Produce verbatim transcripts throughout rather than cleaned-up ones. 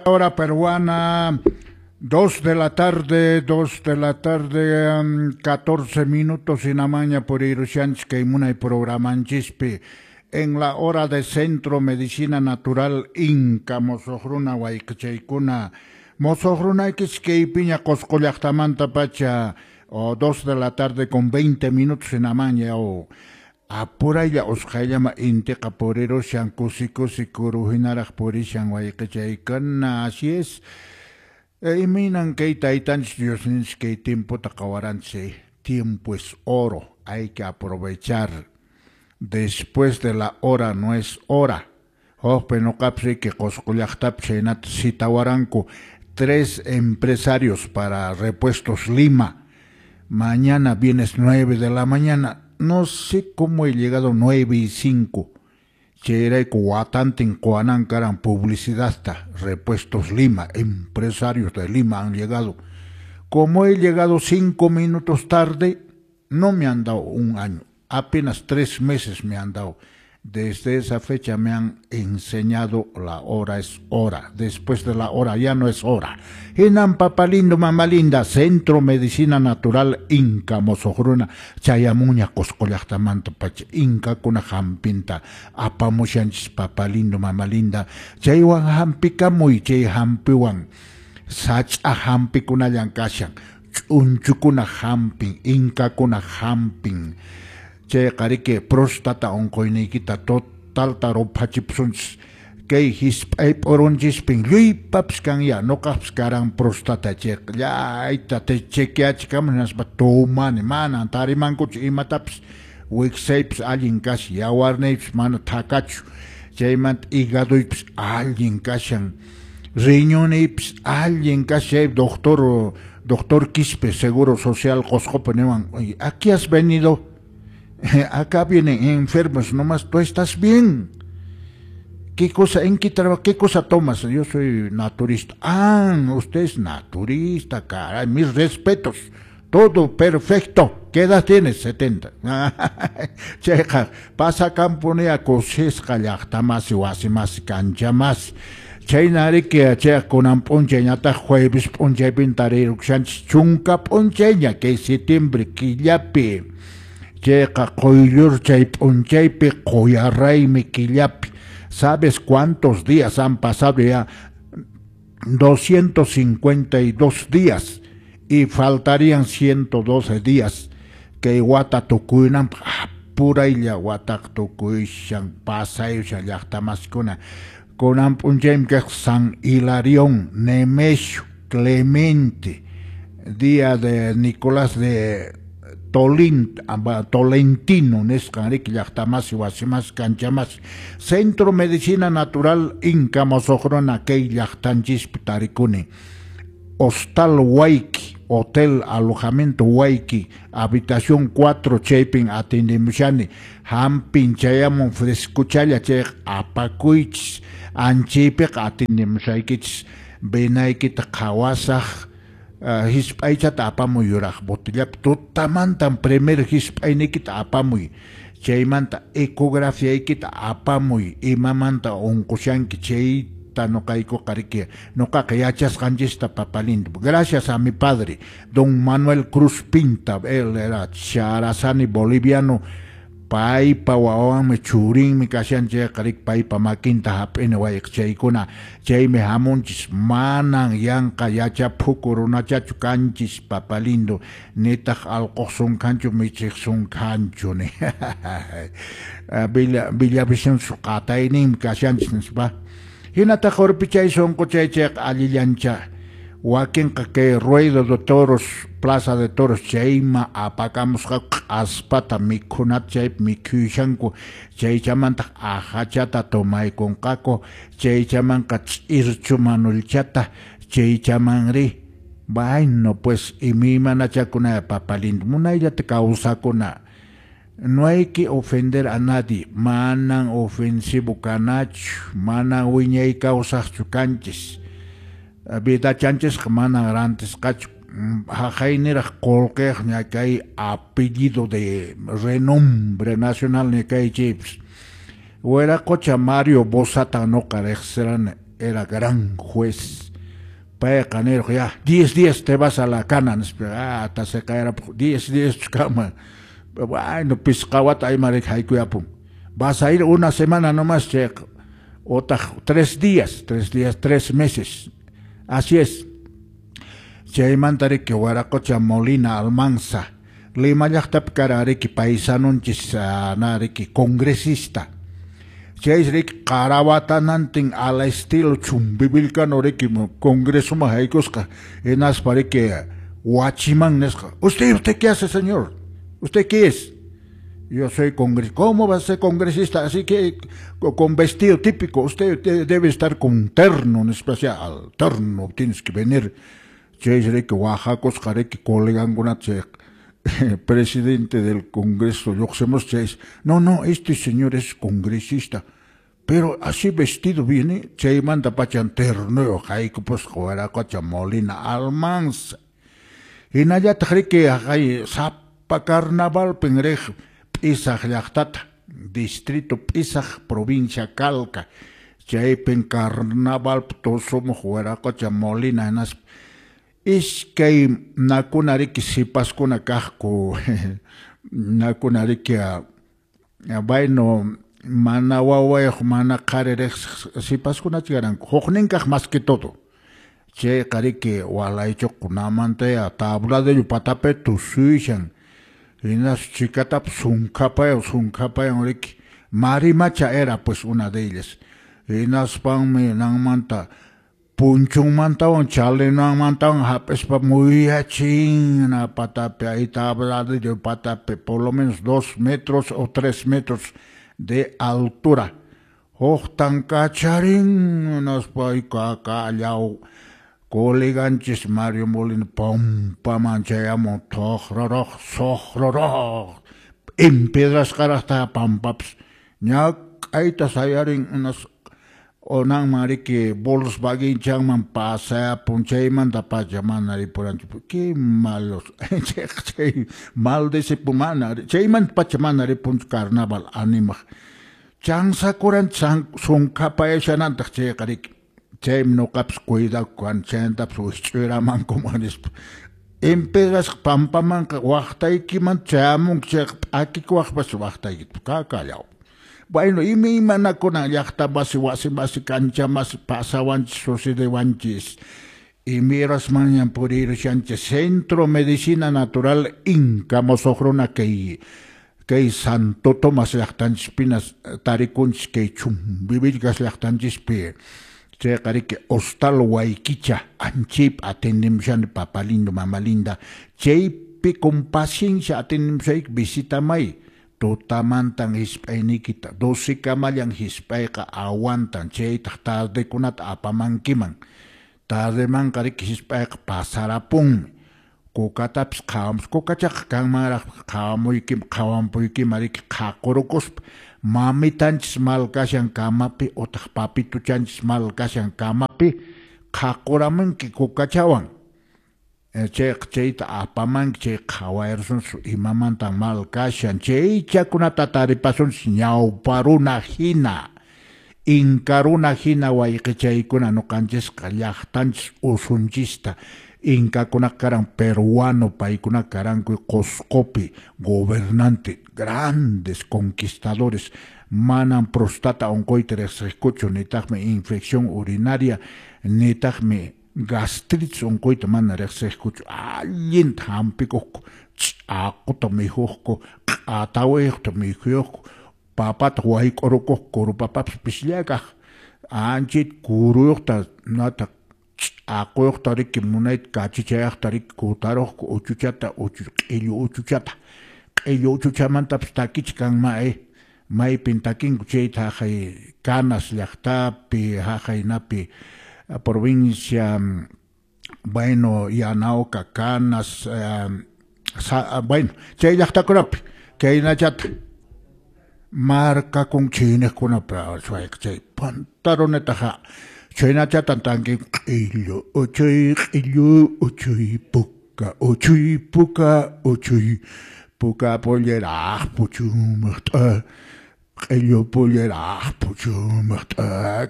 Hora peruana, dos de la tarde, dos de la tarde, catorce minutos hinamaña purirushanchis kay munay programanchispi. En la hora de Centro Medicina Natural Inca Mosoqruna wayqichaykuna. Mosoqrunaykichis kaypiña Qosqo llaqtamanta pacha, o dos de la tarde con veinte minutos hinamaña o apuraylla usqhayllama intiqa purirushan kusi kusi kuru hinaraq purishan wayqichaykuna. Así es. Imaynan kay taytanchis Diosninchis kay tiempota qawaranchis. Tiempo es oro, hay que aprovechar. Después de la hora no es hora. Hukpi nuqapas riki Qosqo llaqtapi chaynata citawaranku tres empresarios para Repuestos Lima. Mañana vienes nueve de la mañana. No sé cómo he llegado nueve y cinco. Chayrayku watantin quwanan karan publicidadta. Repuestos Lima, empresarios de Lima han llegado. Como he llegado cinco minutos tarde, no me han dado un año. Apenas tres meses me han dado. Desde esa fecha me han enseñado la hora es hora. Después de la hora ya no es hora. Hinan papá lindo, mamá linda, Centro Medicina Natural Inca Mosoqruna, chayamuña Qosqo llaqtamanta pacha, Inkakuna hampinta apamushanchis papá lindo, mamá linda. Chaywan hampikamuy, chay hampiwan sach'a hampikunallan kashan, ch'unchukuna hampin, Inkakuna hampin. Chayqa riki próstata unquyniykita totalta ruphachipusunchis. Kay hisp'ay p'urunchispin lluypapas kan ya, nuqaqpas karan próstata chayqa llayta chequeachikamus hinaspa tumani, manan tarimankuchu imatapas, wiksaypas allin kashan, yawarniypas mana thakachu, chaymanta hígadoypas allin kashan, riñoniypas allin kashan. Doctor, doctor Quispe, Seguro Social Qosqopi niwan, oye, ¿aquí has venido? Acá vienen enfermos, nomás tú estás bien. ¿Qué cosa, en qué trabajo, qué cosa tomas? Yo soy naturista. Ah, usted es naturista, caray, mis respetos. Todo perfecto. ¿Qué edad tienes? setenta. Chayqa, pasakampunia kusisqa llaqtamasi, wasimasi, kanchamasi. Chayna riki chayqa kunan p'unchayñataq jueves p'unchaypin tarirukushanchis chunka p'unchayña kay septiembre killapi. Chayqa quyllur chay p'unchaypi quyarraymi killapi. ¿Sabes cuántos días han pasado ya? doscientos cincuenta y dos días y faltarían ciento doce días. Kay wata tukuynanpaq apuraylla wataq tukuyshan pasayushan llaqtamasikuna. Kunan p'unchaymi kaq San Hilarión, Nemesio, Clemente, día de Nicolás de Tolín, Tolentino, nisqan riki llaqtamasi, wasimasi, kanchamasi. Centro Medicina Natural Inca Mosoqruna kay llaqtanchispi tarikuni. Hostal Huayqui, Hotel Alojamiento Huayqui, habitación cuatro, chaypin atendemushani. Hampin chayamun frescuchalla chayqa apakuychis, anchaypiqa atendemushaykichis. Venaykita qhawasaq. Uh, hisp'aychata apamuy yuraq botellapi, tutamantan primer hisp'ayniykita apamuy, chaymanta ecografiaykita apamuy, imamanta unqushanki chayta nuqaykuqa riki nuqaqa yachasqanchista papá lindo. Gracias a mi padre, don Manuel Cruz Pinta, él era charazani boliviano, paypa wawanmi churinmi kashan chayqa riki paypa makinta hap'ini wayqichaykuna, chaymi hamunchis, manan yanqa yachaphuku runachachu kanchis papá lindo, nitaq allquq sunkhanchu michiq sunkhanchu ni. Villa Villavicencio qatayninmi kashanchis nispa. Hinataq urpichay sunquchay chayqa allillancha. Wakinqa kay Ruedo de Toros, Plaza de Toros, chayma apakamusqaku q'aspata mikhunata chaypi mikhuyushanku, chaychamantaq ahachata tomaykunqaku, chaychamanqa ch'irchu manulchata, chaychamanri, bueno pues imaymanachakunaya papá lindo, munayllata kawsakuna. No hay que ofender a nadie, manan ofensivo kanachu, manan wiñay kawsaqchu kanchis. Vidachanchisqa manan rantisqachu, haqayniraq qullqiyaq ña kay apellido de renombre nacional ña kay chaypas. Wiraqocha Mario Bosata nuqa riqsirani, era gran juez. Payqa nirqa ya diez días te vas a la cana nispa, ah taseqayarapuq diez días kama. Bueno, pisqa wata aymarik haykuyapun. Vas a ir una semana nomás chayqa, otaq tres días, tres días, tres meses. Así es. Chaymanta riki Huaracocha Molina Almanza, Lima llaqtapi kara riki paisanunchis na riki congresista. Chay riki qarawatanantin al estilo chumbivilcano riki congresoman haykusqa, hinaspa riki huachiman nisqa. ¿Usted, usted qué hace, señor? ¿Usted qué es? Yo soy congresista. ¿Cómo va a ser congresista? Así que con vestido típico. Usted debe estar con terno, en especial. Terno, tienes que venir. Chay riki waqakusqa riki colegankunata chay presidente del Congreso, lluqsimusqa chay, no, no, este señor es congresista, pero así vestido viene, chaymanta pachan ternuyuq haykupusqa Huaracocha Molina Almanza. Hinallataq riki haqay sapa carnavalpin riq P'isaq llaqtata, distrito P'isaq, provincia Calca, chaypin carnavalpi tusumuq Huaracocha Molina hinaspa iskay nakuna riki sipaskuna kaqku, nakuna riki bueno, mana wawayuq mana qhari riqsiq sipaskunachu karanku, huknin kaq más que todo. Chayqa riki walaychuqkunamanta tabladillo patapi tusuyashan, hinas chikatapas sunkhapayan sunkhapayan riki Marimacha era pues una de ellas. Hinaspanmi nanmanta punchunmantawan chalinanmantawan hap'ispa muyachin patapi ahí tabladillo patapi por lo menos dos metros o tres metros de altura. Huktan kacharin hinaspa kakallaw coleganchis Mario Molina pampaman chayamun toqroroq soqroroq empedrasqaraqta pampapas ñak'ayta sayarin unas onanman riki Volkswagen chanman pasayapun chaymanta pacha mana ripuranchu, qué malos chay maldecipu mana chaymanta pacha mana ripunchu carnaval animaq chansakuran sunkhapayashanantaq chayqa riki chaymi nuqapas cuidakuq chaymantapas wikch'uyramankuman nispa empedrasqa pampamanqa waqtaykiman chayamunki chayqa p'akikuwaqpas waqtaykita kakallaw. Bueno, imaymanakuna llaqta masi, wasi masi, cancha masi, pasawanchis, sucedewanchis. Imirasmanñan purirushanchis Centro Medicina Natural Inca Mosoqruna kay kay Santo Tomás llaqtanchispinas tarikunchis kay Chumbivilcas llaqtanchispi. Chayqa riki Hostal Huayquicha anchaypi atendemushani papa lindo, mama linda. Chaypi con paciencia atendemushayki visitamay. Tutamantan hisp'ayniykita doce kamallan hisp'ayqa aguantan chaytaq tardekunata apamankiman. Tardemanqa riki hisp'ayqa pasarapunmi. Kukatapis qhawamus, kukachaqa kanmanraq qhawamuykim qhawampuykiman riki qhaqurukuspa mamitanchis mal kashan kamapi utaq papituchanchis mal kashan kamapi qhaquramunki kukachawan. Chayqa chayta apamanki chay qhawayarsunchis imamantan mal kashan chaychakunata taripasunchis ñawparuna hina inkaruna hina wayqichaykuna nuqanchisqa llaqtanchis usunchista. Inkakunaqa karan peruano paykunaqa karanku Qusqupi gobernante grandes conquistadores manan prostata unquyta riqsiqkuchu nitaqmi infección urinaria nitaqmi gastritis unquyta mana riqsiqkuchu allinta hampikuqku ch'aquta mikhuqku q'atawiyuqta mikhuyuqku papata wayk'urukuqku kurupapapas pisllakaq anchayta kuruyuqta nataq ch'aquyuqta riki munayta kachichayaqta riki kutaruqku uchuchata uchu q'illu uchuchata q'illu uchuchamantapas takichi kanman eh maypin takinku chayta haqay Canas llaqtapi haqaynapi provincia, bueno, Yanaoca, Canas, eh, sa, bueno, chay llaqtakunapi kaynachata markakun chiniqkunapi chay pantalonetaqa chaynachatan tankin q'illu uchuy q'illu uchuy puka uchuy puka uchuy puka polleraq puchumaqt'a Q'illu pollera puchumaq,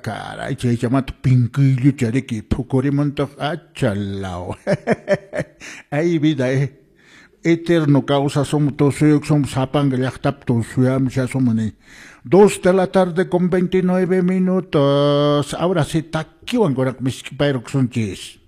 caray, chaychamata pinkillucha riki phukurimuntaq, achalaw. Ay vida, eh. Eterno kawsasun tusuyuksun sapanka llaqtapi tusuyamshasun ni. Dos de la tarde con veintinueve minutos. Ahora sí, takiwan kurak miskipayrukusunchis.